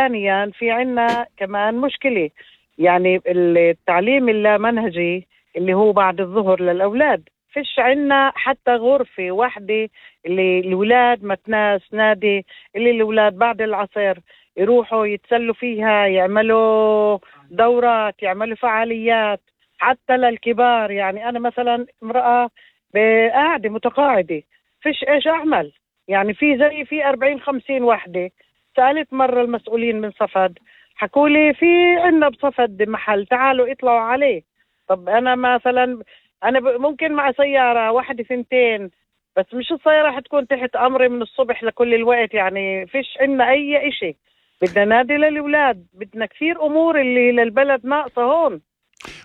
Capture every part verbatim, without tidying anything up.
ثانيا في عنا كمان مشكلة، يعني التعليم اللامنهجي اللي هو بعد الظهر للأولاد، فيش عنا حتى غرفة واحدة اللي الأولاد متناس نادي اللي الأولاد بعد العصر يروحوا يتسلوا فيها، يعملوا دورات، يعملوا فعاليات حتى للكبار. يعني أنا مثلا امرأة قاعدة متقاعدة، فيش إيش أعمل، يعني في زي في أربعين خمسين وحدة. سألت مرة المسؤولين من صفد، حكولي في عنا بصفد محل تعالوا اطلعوا عليه. طب أنا مثلا أنا ممكن مع سيارة واحدة ثنتين، بس مش السيارة حتكون تحت أمري من الصبح لكل الوقت. يعني فيش عنا أي إشي، بدنا نادي للأولاد، بدنا كثير أمور اللي للبلد ناقصة هون.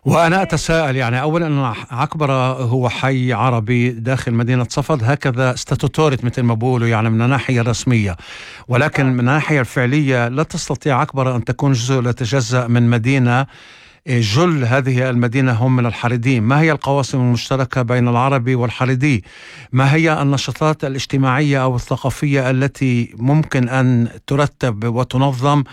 وأنا أتساءل، يعني أولا أن عكبرة هو حي عربي داخل مدينة صفد هكذا ستاتوتوريت مثل ما بقولوا، يعني من الناحية الرسمية، ولكن من الناحية الفعلية لا تستطيع عكبرة أن تكون جزء لا يتجزأ من مدينة. جل هذه المدينة هم من الحريدين. ما هي القواسم المشتركة بين العربي والحريدي؟ ما هي النشاطات الاجتماعية أو الثقافية التي ممكن أن ترتب وتنظم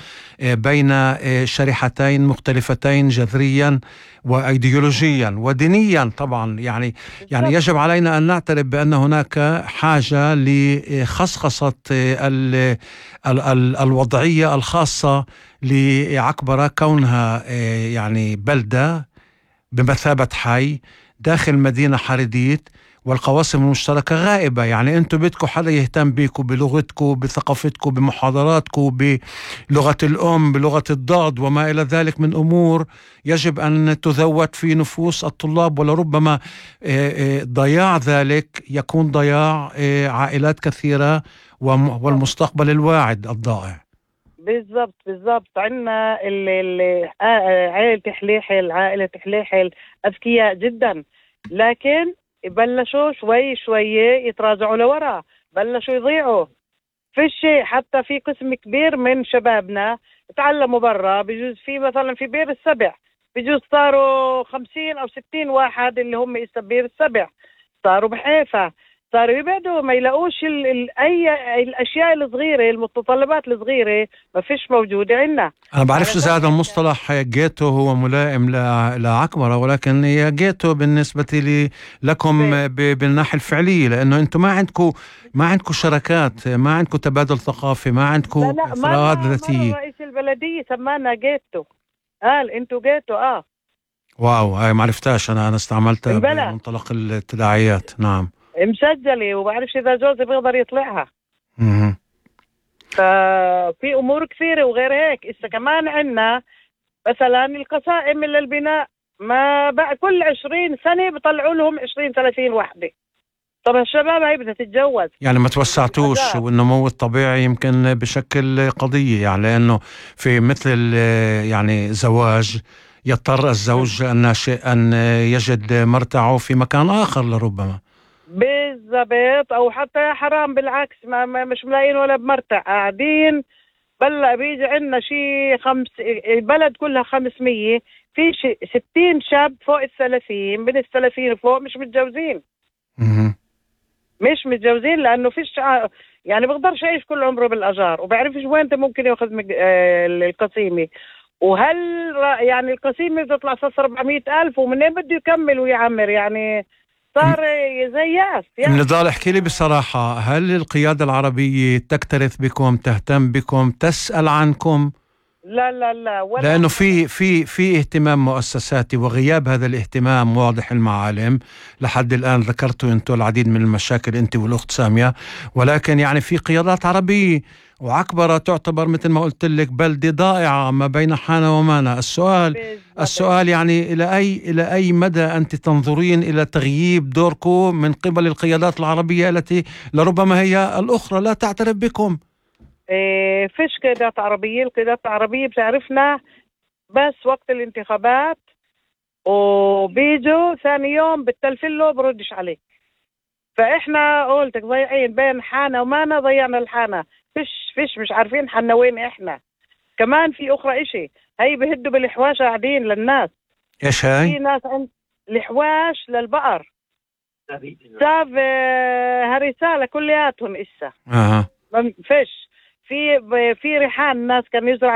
بين شريحتين مختلفتين جذريا وأيديولوجيا ودينيا طبعا؟ يعني يعني يجب علينا أن نعترف بأن هناك حاجة لخصخصة ال ال ال الوضعية الخاصة لعكبرة، كونها يعني بلدة بمثابة حي داخل مدينة حريديت، والقواسم المشتركة غائبة. يعني أنتم بدكم حدا يهتم بيكم بلغتكم بثقافتكم بمحاضراتكم بلغة الأم بلغة الضاد وما إلى ذلك من أمور يجب أن تذوت في نفوس الطلاب، ولربما ضياع ذلك يكون ضياع عائلات كثيرة والمستقبل الواعد الضائع. بالضبط بالضبط. عنا عائلة حليحل، عائلة حليحل أذكياء جدا، لكن بلشوا شوي شوي يتراجعوا لورا، بلشوا يضيعوا في الشيء. حتى في قسم كبير من شبابنا تعلموا برا، بجوز في مثلا في بير السبع بجوز صاروا خمسين أو ستين واحد اللي هم إسا بير السبع، صاروا بحيفا، صاروا يبعدوا ما يلاقوش ال ال أي الأشياء الصغيرة، المتطلبات الصغيرة ما فيش موجودة عنا. أنا بعرفش إذا هذا المصطلح جيتو هو ملائم لعكبرة، ولكن هي جيتو بالنسبة لي لكم بالناحية الفعلية، لأنه أنتم ما عندكم ما عندكم شراكات، ما عندكم تبادل ثقافي، ما عندكم فراغات ذاتية. مرة رئيس البلدية سمانا جيتو، قال أنتوا جيتو. آه واو، هاي ما عرفتاش. أنا أنا استعملتها بمنطلق التداعيات. نعم مسجلة، وبعرفش إذا جوزي بيقدر يطلعها. مم. ففي أمور كثيرة وغير هيك. إسا كمان عنا مثلا القسائم للبناء، ما بقى كل عشرين سنة بيطلعوا لهم عشرين ثلاثين وحدة. طب الشباب هاي بدها تتجوز، يعني ما توسعتوش، والنمو الطبيعي يمكن بشكل قضية، يعني لأنه في مثل يعني زواج يضطر الزوج الناشئ أن يجد مرتعه في مكان آخر لربما. بالضبط، أو حتى حرام بالعكس، ما, ما مش ملاقين ولا بمرتع، قاعدين بلا بيجي عنا شي خمس، البلد كلها خمسمية، في شي ستين شاب فوق الثلاثين، من الثلاثين فوق مش متجوزين. مش متجوزين لأنه فيش، يعني بقدرش يعيش كل عمره بالأجار، وبعرفش وين ممكن يأخذ القسيمة. وهل يعني القسيمة بتطلع صار أربعمية ألف، ومنين بده يكمل ويعمر؟ يعني صار زي ياس. يعني نضال، احكي لي بصراحة، هل القيادة العربية تكترث بكم، تهتم بكم، تسأل عنكم؟ لا لا لا، ولا لأنه في في في اهتمام مؤسساتي، وغياب هذا الاهتمام واضح المعالم. لحد الآن ذكرتوا أنتم العديد من المشاكل أنت والأخت سامية، ولكن يعني في قيادات عربية، وعكبرة تعتبر مثل ما قلت لك بلدة ضائعة ما بين حانة ومانا. السؤال بالزبط. السؤال يعني إلى أي إلى أي مدى أنت تنظرين إلى تغييب دوركم من قبل القيادات العربية التي لربما هي الأخرى لا تعترف بكم؟ إيه، فيش قيادات عربية. القيادات العربية بتعرفنا بس وقت الانتخابات، وبيجوا ثاني يوم بالتلفله بردش عليك. فإحنا قلتك ضيعين بين حانة ومانا، ضيعنا الحانة. فيش فيش مش عارفين حنا وين إحنا. كمان في أخرى إشي، هاي بهدوا بالحواش قاعدين للناس. إيش هاي؟ في ناس عند الحواش للبقر ساف هرسالة كلياتهم إسا. أه. فيش في في ريحان، ناس كانوا يزرعوا